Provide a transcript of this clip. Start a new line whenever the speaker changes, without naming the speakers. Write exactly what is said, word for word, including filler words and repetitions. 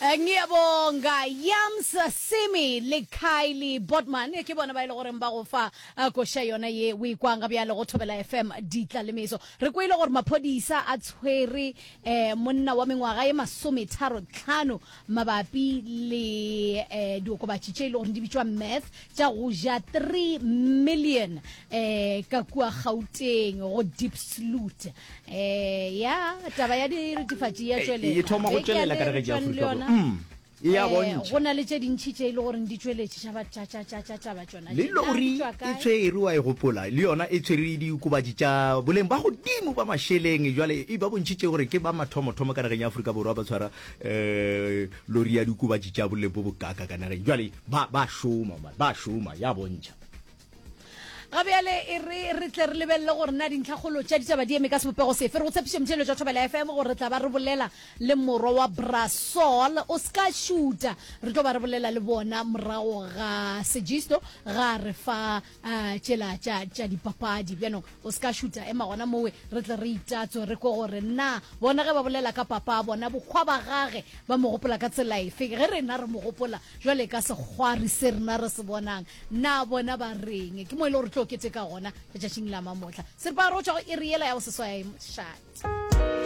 Ngiyabonga Yams Simi le Kylie Botman ke bona ba ile e goreng ba go fa eh, koša yona ye o ikwang ga bjale go Thobela F M ditla le meso. Re kwele gore maphodisa a tshwere eh, monna wa mengwaga ye masometharo tlhano mabapi le eh, diokobatši tše e le gore di bitšwa meth tša go ja three million eh, ka kua Gauteng go Diepsloot. eh, ya taba ya diretefatši ya tšwelela.
E thoma go tšwelela ka nageng ya Afrika Borwa. Mm. E ya
Eh,
bontšha.
Go na le tše dintšhi tše e le goreng di tšweletše tša ba- tša- tša- tša- tša taba tšona
Le
tše. Na di
lori
tšwa
e
kae?
tshwerwe, wa e gopola, le yona e tshwere diokobatši tša boleng ba godimo ba mašeleng. Jwale e ba bontšhitše gore ke ba mathomothomo ka nageng ya Afrika Borwa ba tshwara um lori ya diokobatši tša boleng bo bokaka ka nageng. Jwale ba ba šoma, man, ba šoma, ya bontšha.
Ga bjale e re re tle re lebelele gore na dintlhakgolo tša ditaba di eme ka sebopego sefe. Re go tshepiše, motšheletšo wa Thobela F M, gore re tla ba re bolela le morwa wa Brasol. O se ka šuta, re tlo ba re bolela le bona morago ga sejisto ga re fa uh, tšela tša tša dipapadi. Bjanong o se ka šuta, ema gona mowe re tle re itatswe, re kwe gore na bona ge ba bolela ka papa bona bokgwa ba gage ba mo gopola ka tsela efe. Ge rena re mo gopola jwale ka sekgwari se rena re se bonang, na bona ba reng? Ke mo e le gore tlo keteka gona letšatšing la mamotla seripagare go tšwa go iri yela ya go seswai. Mošate.